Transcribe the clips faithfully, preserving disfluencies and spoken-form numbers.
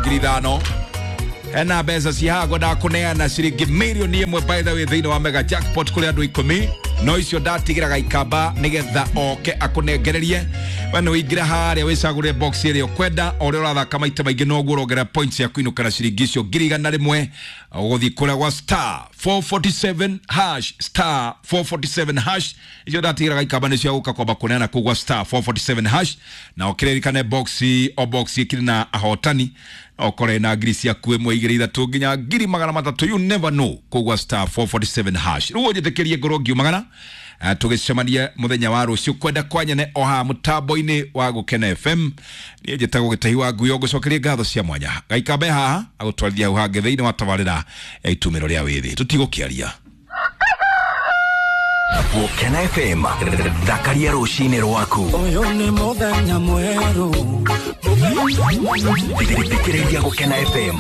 Ngiri ithano ena mbeca cihaha ngwendaga kũneana ciringi mirioni ĩmwe, by the way, thĩinĩ wa mega jackpot kũrĩ andũ ikũmi, no icio ndatigĩra Gaikamba nĩgetha oke akũnengererie. We nĩ ũingĩre harĩa wĩcagũrĩre box ĩrĩa ũkwenda. O ũrĩa ũrathaka maita maingĩ, noguo ũrongerera points cia kũinũka na ciringi icio ngiri igana rĩmwe. Ũgũthiĩ kũrĩa gwa star four forty-seven hash, star four forty-seven hash. Icio ndatigĩra Gaikamba nĩcio agũka kwamba kũneana kũu gwa star four forty-seven hash. Na ũkĩririkane box o box ĩkĩrĩ na ahotani, okore na ngiri ciaku ĩmwe, igĩrĩ, ithatũ, nginya ngiri magana matatũ. You never know kũu gwa star four forty-seven hash. Rĩu ũnjĩtĩkĩrie ngorwo ngiumagana. Eh, tũgĩcemanie mũthenya wa rũciũ kwenda kwa nyene o haha mũtambo-inĩ wa Gũkena F M. Niĩ njĩtagwo Gĩtahi wa Nguyo, ngũcokerie ngatho cia mwanya. Gaikambe haha agũtwarithia hau hangĩ thĩinĩ wa tabarĩra ya Itumĩro rĩa Wĩthĩ. Tũtigũkĩaria. Gũkena F M, thakaria rũcinĩ rwaku. Ũyũ nĩ mũthenya mwerũ. Thikĩrĩria Gũkena F M.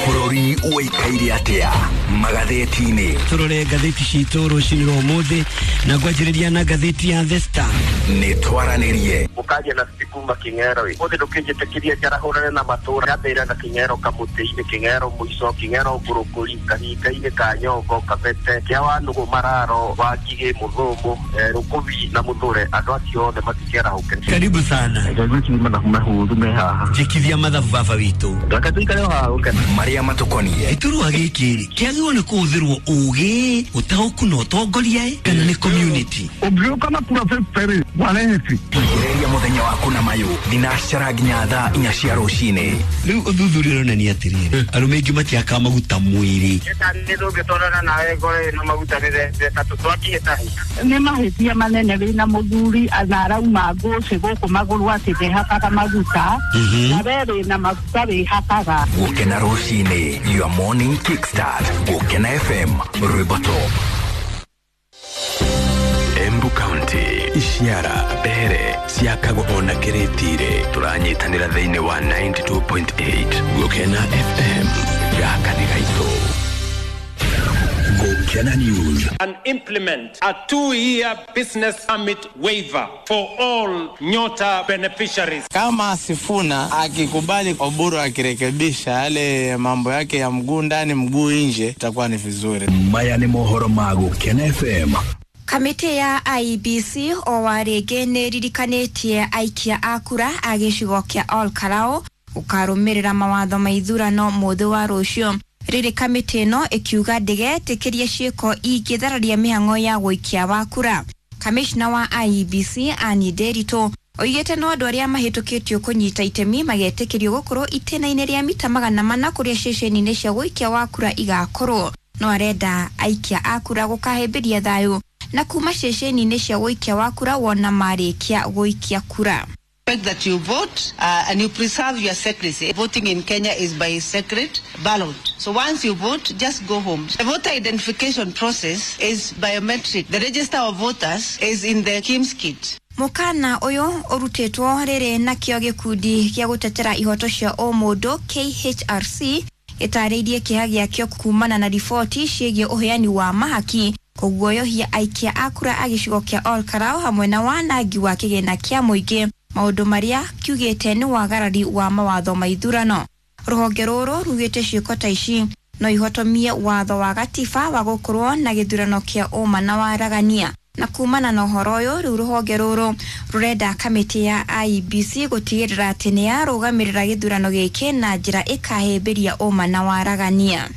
Bũrũri ũikaire atĩa magathĩti-inĩ? Tũrore ngathĩti citũ rũcinĩ rwa ũmũthĩ na ngwanjĩrĩria na ngathĩti ya The Star. Nĩ twaranĩrie. Mũkaria na kuma Kĩng'ero ĩ ũthĩ, ndũkĩnjĩtĩkĩria njarahũrane na matũra nyambĩrĩra na Kĩng'ero kamũtĩ-inĩ, Kĩng'ero mũico, Kĩng'ero ngũrũkũri, kahinga-inĩ ka Nyongo, Kabete, kĩa Wanũgũ, Mararo wa Ngigĩ, Mũthũmũ, eh, Rũkũbi na Mũthũre. Andũ acio othe matikĩarahũke. Karibu sana. Mathabu mahũthũ me haha. Njĩkithia mathabu baba witũ. Reke tũikare o haha Gũkena. Marĩa matũkoniĩ. Gĩturwa gĩkĩ rĩ kĩagĩrĩirwo nĩ kũhũthĩrwo ũgĩ, ũtaũku na ũtongoria ĩ, kana nĩ community? Ũngĩũka na kura fifty wareheti. Tigĩrĩria mũthenya waku na mayũ thinacara nginya thaa inya cia rũcinĩ. Rĩu ũthuthuria ũronania atĩrĩrĩ, arũme aingĩ matiakaga maguta mwĩrĩ. Nĩ tũngĩtwarana nawe ngoro ĩno maguta nĩ tũtwakĩhĩtahĩta. Nĩ mahĩtia manene wĩna mũthuri na arauma ngũcĩ gũkũ magũrũ atĩ ndehakaga maguta, na we wĩna maguta wĩhakaga. Gũkena rũcinĩ, your morning kickstart. Gũkena F M, rwĩmbo top. Embu County, Ishiara, Mbere ciakagwo ona kĩrĩtire. Tũranyitanĩra thĩinĩ wa ninety-two point eight Gũkena F M. Gaka nĩ gaitũ. Gũkena News. And implement a two-year business permit waiver for all Nyota beneficiaries. Kama Sifuna akikubali Oburu akirekebisha yale mambo yake ya mguu ndani mguu nje, itakuwa ni vizuri. Maya nĩ mohoro ma Gũkena F M. Kamĩtĩ ya I E B C o wa rĩngĩ nĩ ĩririkanĩtie aikia a kura a gĩcigo kĩa Ol Kalou gũkarũmĩrĩra mawatho ma ithurano mũthĩ wa rũciũ, rĩrĩ kamĩtĩ ĩno ĩkiuga ndĩgetĩkĩria ciĩko ingĩthararia mĩhang'o ya gũikia wa kura. Kamishna wa I E B C Anne Nderitu oigĩte no andũ arĩa mahĩtũkĩtio kũnyita itemi magetĩkĩrio gũkorwo itĩna-inĩ rĩa mita magana mana kũrĩa ceceni-inĩ cia gũikia wa kura igakorwo, no arenda aikia a kura gũkahĩmbĩria thayũ na kuma ceceni-inĩ cia gũikia wa kura wona marĩkia gũikia kura. Expect that you vote uh, and you preserve your secrecy. Voting in Kenya is by secret ballot. So once you vote, just go home. The voter identification process is biometric. The register of voters is in the KIEMS kit. Mũkana ũyũ ũrutĩtwo rĩrĩ nakĩo gĩkundi gĩa gũtetera ihoto cia ũmũndũ K H R C gĩtarĩirie kĩeha gĩakĩo kumana na riboti ciĩgiĩ ũheani wa mahaki, kũguoyohia aikia a kura a gĩcigo kĩa Ol Kalou hamwe na wanangi wa kĩgĩna kĩa mũingĩ, maũndũ marĩa kiugĩte nĩ wagarari wa mawatho ma ithurano. Rũhonge rũrũ rugĩte ciĩko ta ici no ihotomie watho wa gatiba wa gũkorwo na gĩthurano kĩa ũma na waragania. Na kumana na ũhoro ũyũ, rĩu rũhonge rũrũ rũrenda kamĩtĩ ya I E B C gũtigĩrĩra atĩ nĩ yarũgamĩrĩra gĩthurano gĩkĩ na njĩra ĩkahĩmbĩria ũma na waragania.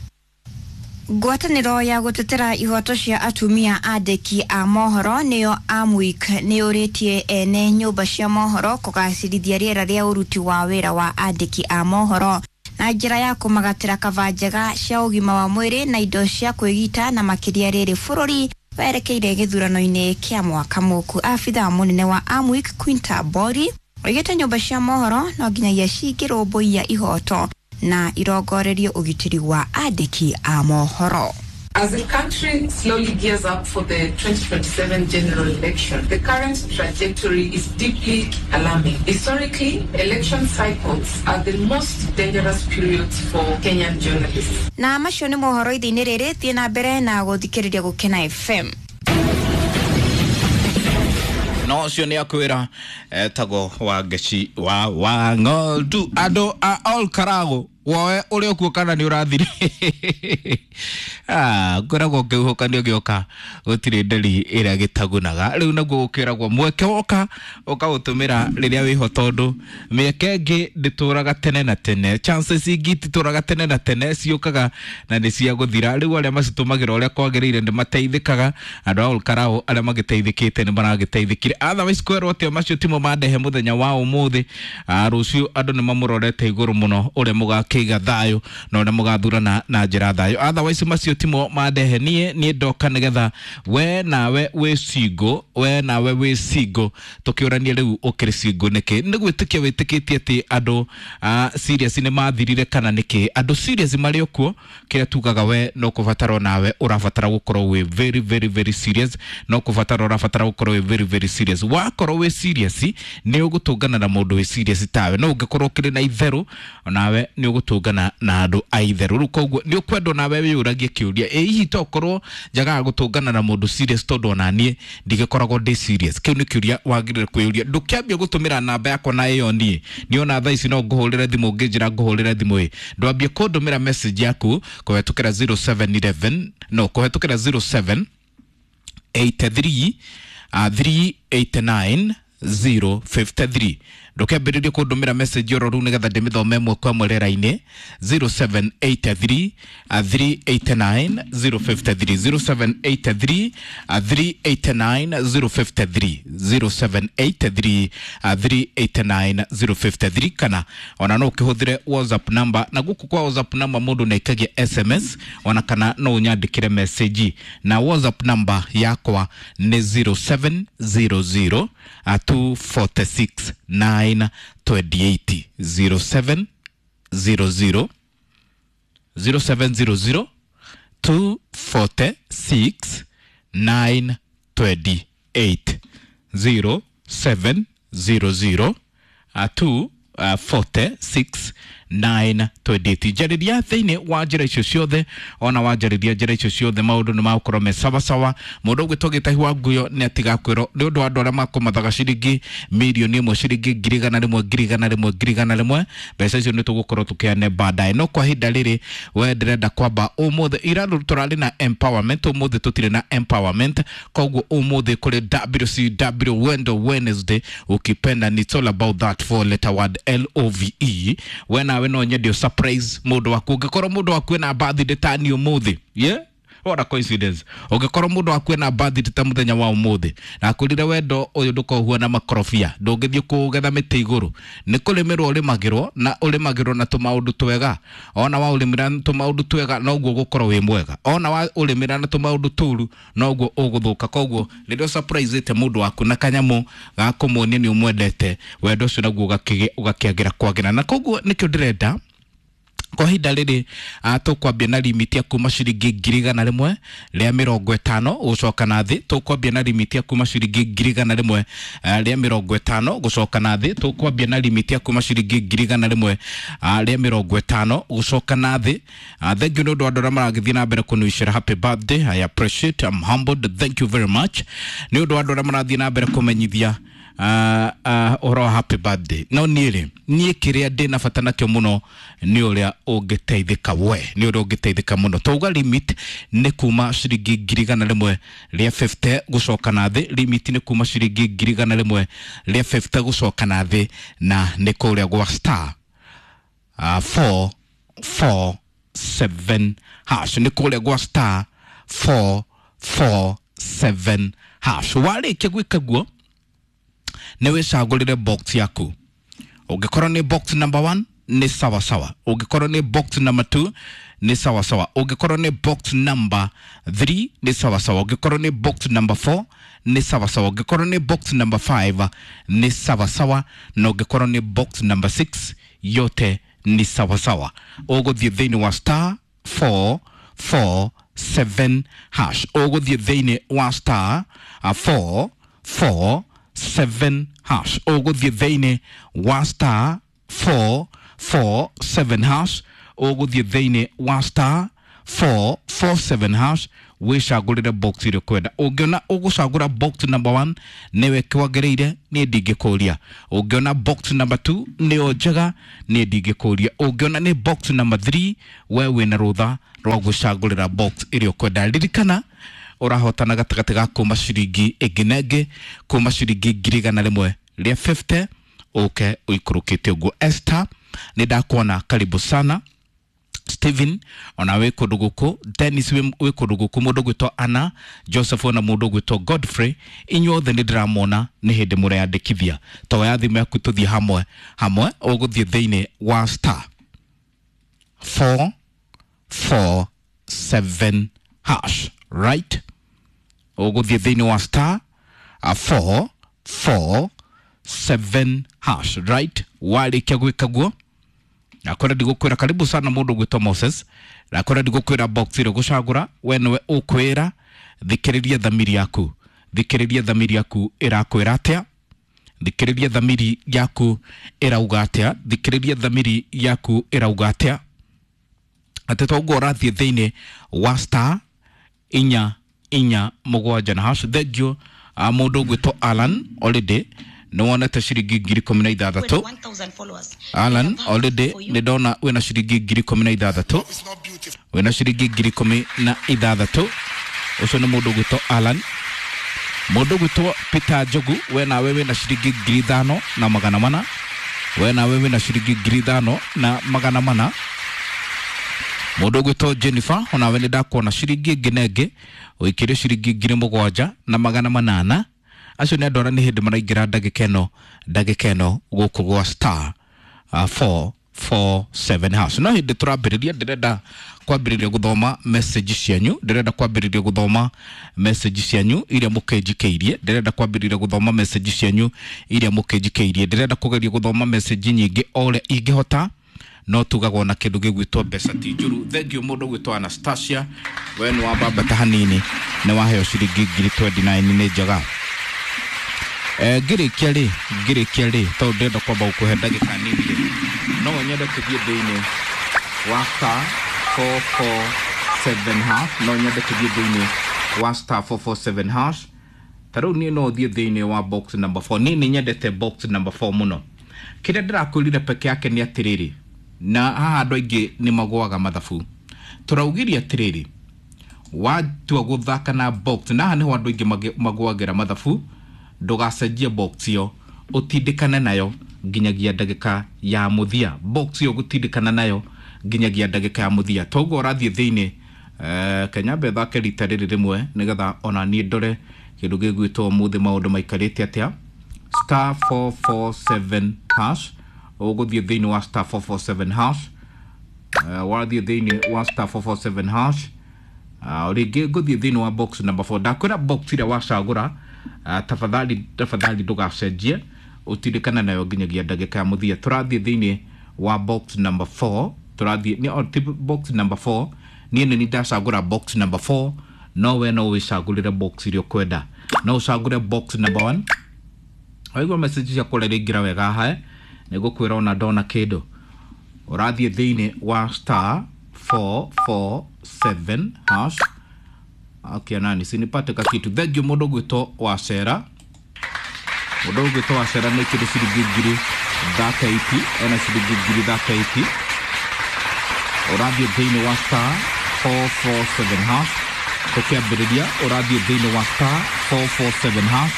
Ngwatanĩro ya gũtetera ihoto cia atumia andĩki a mohoro, nĩyo AMWIK, nĩ ũrĩtie ene nyũmba cia mohoro kũgacĩrithia rĩera rĩa ũruti wa wĩra wa andĩki a mohoro na njĩra ya kũmagatĩra kaba njega cia ũgima wa mwĩrĩ na indo cia kwĩgita, na makĩria rĩrĩ bũrũri werekeire gĩthurano-inĩ kĩa mwaka mũku. Abithaa mũnene wa AMWIK Quinta Bori oigĩte nyũmba cia mohoro no nginyagia cingĩrũmbũiya ihoto na irongorerie ũgitĩri wa andĩki a mohoro. As the country slowly gears up for the twenty twenty-seven general election, the current trajectory is deeply alarming. Historically, election cycles are the most dangerous periods for Kenyan journalists. Na macio nĩ mohoro ithe-inĩ rĩrĩ. Thiĩ na mbere na gũthikĩrĩria Gũkena F M. No ũcio nĩ akwĩra etagwo Wangeci wa Wang'ondu. Andũ a Ol Karago woe ũrĩa ũkuo kana nĩ ũrathire. Ah, ngoragwo ngĩhuhũkanio gĩoka gũtirĩ nderi ĩrĩa gĩtagunaga. Rĩu naguo gũkĩragwo mweke woka ũkaũtũmĩra rĩrĩa wĩho, tondũ mĩeke ĩngĩ ndĩtũraga tene na tene, chances ingĩ ititũraga tene na tene, ciũkaga na nĩ cia gũthira. Rĩu arĩa macitũmagĩra ũrĩa kwagĩrĩire nĩ mateithĩkaga. Andũ a Ol Kalou arĩa magĩteithĩkĩte nĩ maragĩteithĩkire. Otherwise kwerwo atĩ macio timo mandehe mũthenya wa ũmũthĩ. Ah, rũciũ andũ nĩ mamũrorete igũrũ mũno ũrĩa mũgakĩiga thayũ na ũrĩa mũgathurana na njĩra thayũ. Otherwise macio timo mandehe niĩ niĩ ndoka nĩgetha we nawe wĩ single, we nawe wĩ single, tũkĩũranie rĩu ũkĩrĩ single nĩkĩ? Nĩ gwĩtĩkia wĩtĩkĩtie atĩ andũ ah, serious nĩ mathirire kana nĩkĩ? Andũ serious marĩ o kuo, kĩrĩa tugaga we no kũbatara nawe ũrabatara gũkorwo wĩ very very very serious, no kũbatara ũrabatara gũkorwo wĩ very very serious. Wakorwo wĩ serious nĩ ũgũtũngana na mũndũ wĩ serious tawe, no ũngĩkorwo ũkĩrĩ na itherũ nawe nĩ ũgũtũngana na andũ a itherũ. Rĩu koguo nĩ ũkwendwo nawe wĩyũragie kĩũria, ĩ hihi tokorwo njagaga gũtũngana na mũndũ serious tondũ ona niĩ ndigĩkoragwo ndĩ serious? Kĩu nĩ kĩũria wagĩrĩire kwĩyũria. Ndũkĩambie gũtũmĩra namba yakwa na ĩyo niĩ niona thaa ici no ngũhũrĩre thimũ, ũngĩnjĩra ngũhũrĩre thimũ ĩ ndwambie kũndũmĩra message yaku kũhetũkĩra zero seven eleven, no kũhetũkĩra zero seven eight three, uh, three eight nine zero fifty three. Ndũkĩambĩrĩrie kũndũmĩra message oro rĩu nĩgetha ndĩmĩthome ĩmwe kwa ĩmwe rĩera-inĩ. Zero seven eight three, uh, three eight nine zero fifty three, zero seven eight three, uh, three eight nine zero fifty three, zero seven eight three, uh, three eight nine zero fifty three. Kana ona no ũkĩhũthĩre WhatsApp number, na gũkũ kwa WhatsApp number mũndũ nĩaikagia S M S, ona kana no ũnyandĩkĩre message, na WhatsApp number yakwa nĩ zero seven zero zero, uh, two forty six nine twenty eight, zero seven zero zero, zero seven zero zero, two forty six nine twenty eight, zero seven zero zero, uh, two, uh, forty six nine twenty eight. Njarĩria thĩinĩ wa njĩra icio ciothe, ona wanjarĩria njĩra icio ciothe maũndũ nĩ magũkorwo me sawasawa. Mũndũ ũgwĩtwo Gĩtahi wa Nguyo nĩ atigakwĩrwo nĩ ũndũ wa andũ arĩa makũmathaga ciringi mirioni ĩmwe, ciringi ngiri igana rĩmwe, ngiri igana rĩmwe, ngiri igana rĩmwe. Mbeca icio nĩ tũgũkorwo tũkĩane baadaye, no kwa ihinda rĩrĩ we ndĩrenda kwamba ũmũthĩ ira tũrarĩ na empowerment, ũmũthĩ tũtirĩ na empowerment. Koguo ũmũthĩ kũrĩ W C W Wendo Wednesday, ukipenda ni it's all about that four letter word L O V E. We nawe no nyende surprise mũndũ waku, ũngĩkorwo mũndũ waku ena birthday ta niĩ ũmũthĩ, yeah? What a coincidence. Ũngĩkorwo mũndũ waku ena birthday ta mũthenya wa ũmũthĩ, na akwĩrire wendo ũyũ ndũkohuo na makorobia, ndũngĩthiĩ kũgetha mĩtĩ igũrũ, nĩ kũrĩmĩrwo ũrĩmagĩrwo, na ũrĩmagĩrwo na tũmaũndũ twega. Ona wa ũrĩmĩra na tũmaũndũ twega noguo ũgũkorwo wĩ mwega, ona wa ũrĩmĩra na tũmaũndũ tũru noguo ũgũthũka. Koguo rĩrĩa ũsurprise-ĩte mũndũ waku na kanyamũ ga kũmuonia nĩ ũmwendete, wendo ũcio naguo ũgakĩgĩa, ũgakĩagĩra kwagĩra. Na koguo nĩkĩo ndĩrenda kwa ihinda rĩrĩ, ah, tũkwambia na limit ya kuma ciringi ngiri igana rĩmwe rĩa mĩrongo ĩtano gũcoka na thĩ. Tũkwambia na limit ya kuma ciringi ngiri igana rĩmwe, ah, rĩa mĩrongo ĩtano gũcoka na thĩ. Tũkwambia na limit ya kuma ciringi ngiri igana rĩmwe, ah, rĩa mĩrongo ĩtano gũcoka na thĩ. Ah, thank you nĩ ũndũ wa andũ arĩa maragĩthiĩ na mbere kũnwicĩra happy birthday. I appreciate, I'm humbled, thank you very much. Nĩ ũndũ wa andũ arĩa marathiĩ na mbere kũmenyithia ah, ah, ũhoro wa happy birthday. No niĩ rĩ, niĩ kĩrĩa ndĩna bata nakĩo mũno nĩ ũrĩa ũngĩteithĩka we, nĩ ũrĩa ũngĩteithĩka mũno. Twauga limit nĩ kuma ciringi ngiri igana rĩmwe rĩa fifty gũcoka na thĩ. Limit nĩ kuma ciringi ngiri igana rĩmwe rĩa fifty gũcoka na thĩ, na nĩ kũrĩa gwa star, ah, four four seven hash, nĩ kũrĩa gwa star four four seven hash. Warĩkia gwĩka guo nĩ wĩcagũrĩre box yaku. Ũngĩkorwo nĩ box number one nĩ sawa sawa, ũngĩkorwo nĩ box number two nĩ sawa sawa, ũngĩkorwo nĩ box number three nĩ sawa sawa, ũngĩkorwo nĩ box number four nĩ sawa sawa, ũngĩkorwo nĩ box number five nĩ sawa sawa, na ũngĩkorwo nĩ box number six yote ni sawa sawa. Ũgũthiĩ thĩinĩ wa star four four seven hash, ũgũthiĩ thĩinĩ wa star, uh, four four seven hash, ũgũthiĩ thĩinĩ wa star four four seven hash, ũgũthiĩ thĩinĩ wa star four four seven hash. Wĩcagũrĩre box ĩrĩa ũkwenda. Ũngĩona ũgũcagũra box number one nĩwe kwagĩrĩire, niĩ ndingĩkũria. Ũngĩona box number two nĩyo njega, niĩ ndingĩkũria. Ũngĩona nĩ box number three, we wĩna rũtha rwa gwĩcagũrĩra box ĩrĩa ũkwenda. Ririkana ũrahotana gatagatĩ ga kuma ciringi ĩngĩ na ĩngĩ, kuma ciringi ngiri igana rĩmwe rĩa fifty ũke ũikũrũkĩte ũguo. Esther, nĩ ndakuona, karibu sana. Steven ona wĩ kũndũ gũkũ, Dennis wĩ wĩ kũndũ gũkũ, mũndũ gwĩtwo Anna Joseph ona mũndũ gwĩtwo Godfrey, inyuothe nĩ ndĩramona nĩ hĩndĩ mũreyandĩkithia. Toya thimũ yaku tũthiĩ hamwe hamwe. Ũgũthiĩ thĩinĩ wa star four four seven hash, right? Ũgũthiĩ thĩinĩ wa star uh, four four seven hash, right? Warĩkia gwĩka guo, nakwenda ndigũkwĩra karibu sana mũndũ gwĩtwo Moses, nakwenda ndigũkwĩra box ĩrĩa ũgũcagũra, we nĩwe ũkwĩra. Thikĩrĩria thamiri yaku, thikĩrĩria thamiri yaku ĩrakwĩra atĩa, thikĩrĩria thamiri yaku ĩrauga atĩa, thikĩrĩria thamiri yaku ĩrauga atĩa. Atĩ toguo ũrathiĩ thĩinĩ wa star inya inya mũgwanja na hash. Thank you uh, mũndũ ũgwĩtwo Alan already nĩ wonete ciringi ngiri ikũmi na ithathatũ. Alan already nĩ ndona wĩna ciringi ngiri ikũmi na ithathatũ, wĩna ciringi ngiri ikũmi na ithathatũ. Ũcio nĩ mũndũ ũgwĩtwo Alan. Mũndũ ũgwĩtwo Peter Njogu, we nawe wĩna ciringi ngiri ithano na magana mana, we nawe wĩna ciringi ngiri ithano na magana mana. Mũndũ ũgwĩtwo Jennifer, onawe nĩ ndakuona ciringi ĩngĩ na ĩngĩ, ũikĩrie ciringi ngiri mũgwanja na magana manana. Acio nĩ andũ arĩa nĩ hĩndĩ maraingĩra ndagĩka ĩno, ndagĩka ĩno gũkũ gwa star uh, four four seven hash. No hĩndĩ tũrambĩrĩria, ndĩrenda kwambĩrĩria gũthoma message cianyu, ndĩrenda kwambĩrĩria gũthoma message cianyu iria mũkĩnjikĩirie, ndĩrenda kwambĩrĩria gũthoma message cianyu iria mũkĩnjikĩirie, ndĩrenda kũgeria gũthoma message nyingĩ o ũrĩa ingĩhota. No tugagwo na kĩndũ gĩgwĩtwo mbeca ti njũru. Thank you mũndũ gwĩtwo Anastasia, we nĩ wambambata hanini, nĩ waheo ciringi ngiri twenty nine, nĩ njega. Eh, ngĩrĩkia rĩ, ngĩrĩkia rĩ, tondũ ndĩrenda kwamba gũkũhe ndagĩka nini rĩ, no nyende tũthiĩ thĩinĩ wa star four four seven hash, no nyende tũthiĩ thĩinĩ wa star four four seven hash. Ta rĩu niĩ no thiĩ thĩinĩ wa box number four. Niĩ nĩ nyendete box number four mũno. Kĩrĩa ndĩrakwĩrire peke yake nĩ atĩrĩrĩ, na haha andũ aingĩ nĩ magũaga mathabu. Tũraugirie atĩrĩrĩ, watua gũthaka na box, na haha nĩho andũ aingĩ magũagĩra mathabu, ndũgacenjie box ĩyo, ũtindĩkane nayo nginyagia ndagĩka ya mũthia. Box ĩyo gũtindĩkana nayo nginyagia ndagĩka ya mũthia. Toguo ũrathiĩ thĩinĩ, eh, Kenya thake rita rĩrĩ rĩmwe nĩgetha ona niĩ ndore kĩndũ gĩgwĩtwo ũmũthĩ maũndũ maikarĩte atĩa. Star four four seven hash, ũgũthiĩ thĩinĩ wa star four four seven hash. Uh, wathiĩ thĩinĩ wa star four four seven hash, uh, rĩngĩ ngũthiĩ thĩinĩ wa box number four. Ndakwĩra box ĩrĩa wacagũra, uh, tafadhali tafadhali ndũgacenjie, ũtindĩkane nayo nginyagia ndagĩka ya mũthia. Tũrathiĩ thĩinĩ wa box number four, tũrathiĩ nĩ oh, box number four. Niĩ nĩ ndacagũra box number four, no we no wĩcagũrĩre box ĩrĩa ũkwenda. No ũcagũre box number one. Waigua message ciakwa ũrĩa iraingĩra wega haha, nĩ ngũkwĩra ona ndona kĩndũ. Ũrathiĩ thĩinĩ wa star four four seven hash. Okay, nani sinipate kakitu. Thank you mũndũ gwĩtwo Wacera. Mũndũ gwĩtwo Wacera nĩ kĩndũ ciringi ngiri thirty eight, ena ciringi ngiri thirty eight. Ũrathiĩ thĩinĩ wa star four four seven hash. Tũkĩambĩrĩria ũrathiĩ thĩinĩ wa star four four seven hash.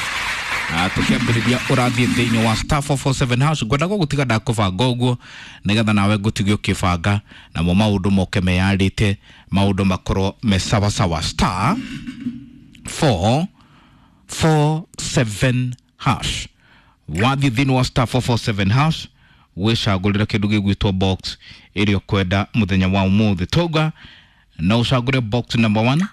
Tũkĩambĩrĩria ũrathiĩ thĩinĩ wa star four four seven hash. Ngwenda gũgũtiga ndakũbanga ũguo nĩgetha nawe ngũtige ũkĩbanga namo maũndũ moke meyarĩte, maũndũ makorwo me sawasawa. Star four four seven hash. Wathiĩ thĩinĩ wa star four four seven hash wĩcagũrĩre kĩndũ gĩgwĩtwo box ĩrĩa ũkwenda mũthenya wa ũmũthĩ. Tauga no ũcagũre box number one,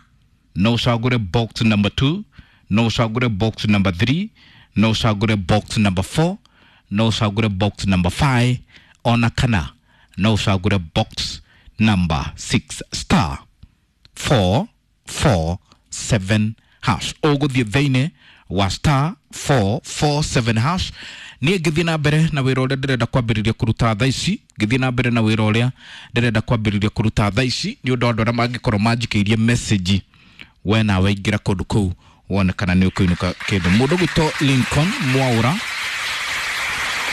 no ũcagũre box number two, no ũcagũre box number three, no ũcagũre box number four, no ũcagũre box number five, ona kana no ũcagũre box number six. Star four four seven hash. Ũgũthiĩ thĩinĩ wa star four four seven hash. Niĩ ngĩthiĩ na mbere na wĩra ũrĩa ndĩrenda kwambĩrĩria kũruta thaa ici, ngĩthiĩ na mbere na wĩra ũrĩa ndĩrenda kwambĩrĩria kũruta thaa ici nĩ ũndũ wa andũ arĩa mangĩkorwo manjikĩirie message We nawe ingĩra kũndũ kũu wone kana nĩ ũkũinũka kĩndũ. Mũndũ gwĩtwo Lincoln Mwaura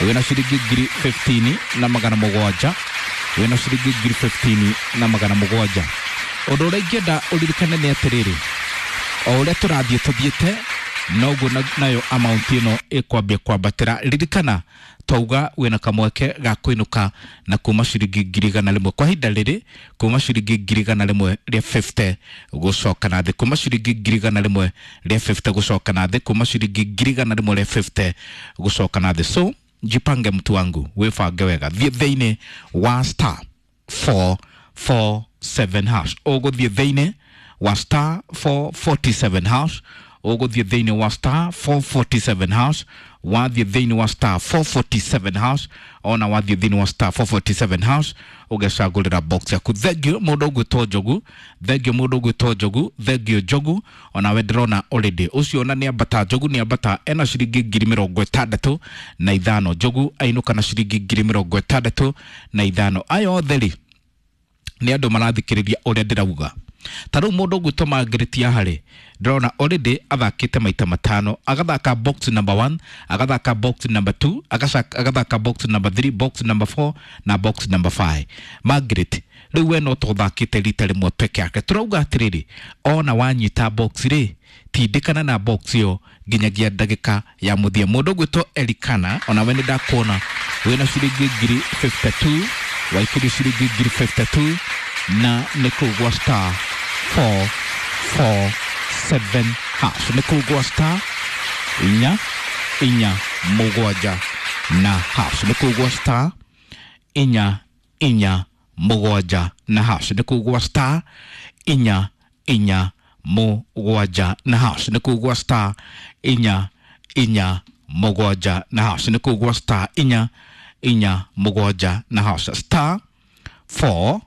wĩna ciringi ngiri fifteen na magana mũgwanja, wĩna ciringi ngiri fifteen na magana mũgwanja. Ũndũ ũrĩa ingĩenda ũririkane nĩ atĩrĩrĩ, o ũrĩa tũrathiĩ tũthiĩte noguo nayo amount ĩno ĩkwambia kwambatĩra. Ririkana twauga wĩna kamweke ga kũinũka na kuma ciringi ngiri igana rĩmwe kwa ihinda rĩrĩ, kuma ciringi ngiri igana rĩmwe rĩa fifty gũcoka na thĩ, kuma ciringi ngiri igana rĩmwe rĩa fifty gũcoka na thĩ, kuma ciringi ngiri igana rĩmwe rĩa fifty gũcoka na thĩ. So jipange mtu wangu, wĩbange wega, thiĩ thĩinĩ wa star four four seven hash, ũgũthiĩ thĩinĩ wa star four forty-seven hash, ũgũthiĩ thĩinĩ wa star four forty-seven hash, wathiĩ thĩinĩ wa star four forty-seven hash, ona wathiĩ thĩinĩ wa star four forty-seven hash ũgecagũrĩra box yaku. Thengio mũndũ ũgwĩtwo Njogu, thengio mũndũ ũgwĩtwo Njogu, thengio Njogu, onawe ndĩrona already ũcio ona nĩ ambata. Njogu nĩ ambata ena ciringi ngiri mĩrongo ĩtandatũ na ithano. Njogu ainũka na ciringi ngiri mĩrongo ĩtandatũ na ithano. Aya othe rĩ nĩ andũ marathikĩrĩria ũrĩa ndĩrauga. Ta rĩu mũndũ ũgwĩtwo Margaret harĩ ndĩrona already athakĩte maita matano, agathaka box number one, agathaka box number two, agathaka box number three, box number four na box number five. Margaret rĩu we no tũthakĩte rita rĩmwe peke yake. Tũrauga atĩrĩrĩ, ona wanyita box rĩ, tindĩkana na box ĩyo nginyagia ndagĩka ya mũthia. Mũndũ ũgwĩtwo Elikana onawe nĩ ndakuona wĩna ciringi ngiri fifty-two, waikĩrio ciringi ngiri fifty-two na nĩ kũu gwa star four four seven hash, nĩ kũu gwa star inya inya mũgwanja na hash, nĩ kũu gwa star inya inya mũgwanja na hash, nĩ kũu gwa star inya inya mũgwanja na hash, nĩ kũu gwa star inya inya mũgwanja na hash, nĩ kũu gwa star inya inya mũgwanja na hash, star four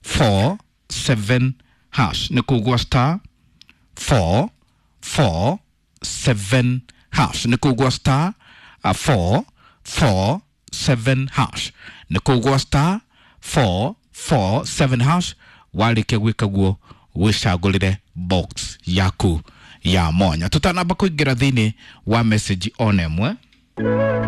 four seven hash, nĩ kũu gwa star four four seven hash, nĩ kũu gwa star four four seven hash, nĩ kũu gwa star four four seven hash. Warĩkia gwĩka guo wĩcagũrĩre box yaku ya mwanya. Tũtanamba kũingĩra thĩinĩ wa message ona ĩmwe.